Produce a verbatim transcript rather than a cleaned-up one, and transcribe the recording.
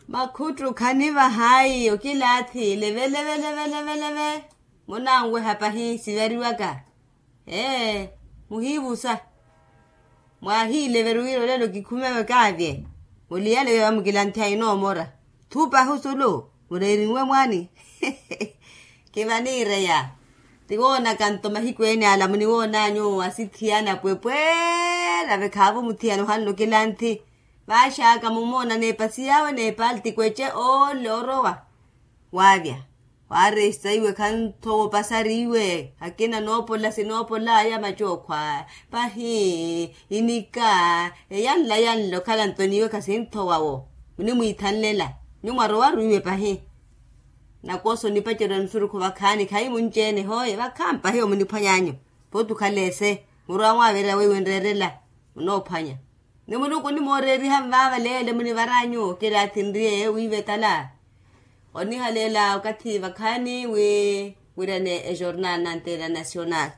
Makhuttu khanivahayi okilaathi leve leve leve leve leve. Munanweha pahi sivariwaka. Ee, muhiivusa. Mwahiileveri wira olelo kikhumewe kaavye. Muliyale veva mukilanthi ainoomora. Thupahi osulu mureerinwe mwaani. Kivaniireya. Tiwoonaka nto mahiku ene ala muniwoonanyu asithiyana pwepweera vekhaavo muthiyana ohanle okilanthi. Vaaxaka mumoona n'epasi yaawe n'epalti kweece ole orowa. Waavya. Waaresta iwe khanthowa opasari iwe akina noopola sinoopolaya macookho aya. Pahi inika eyanla yanla okhala nto n'iwe khasinthowa wo. Munimwiithanlela. Nyumwa rowaru iwe pahi. Nakosa onipacerya nsurukhu vakhaani khayi munci-ene hooye vakhaani pahi omuniphwanyanyu. Pooti okhala ese murwa mwaaverya weiwe nreerela. Munoophwanya. Ni muluku onimooreeriha nvaava leele munivaranyu okilaathi nriye wiivetala. Onihaleela okathi vakhaani wi wirane ejornal na antena nacional.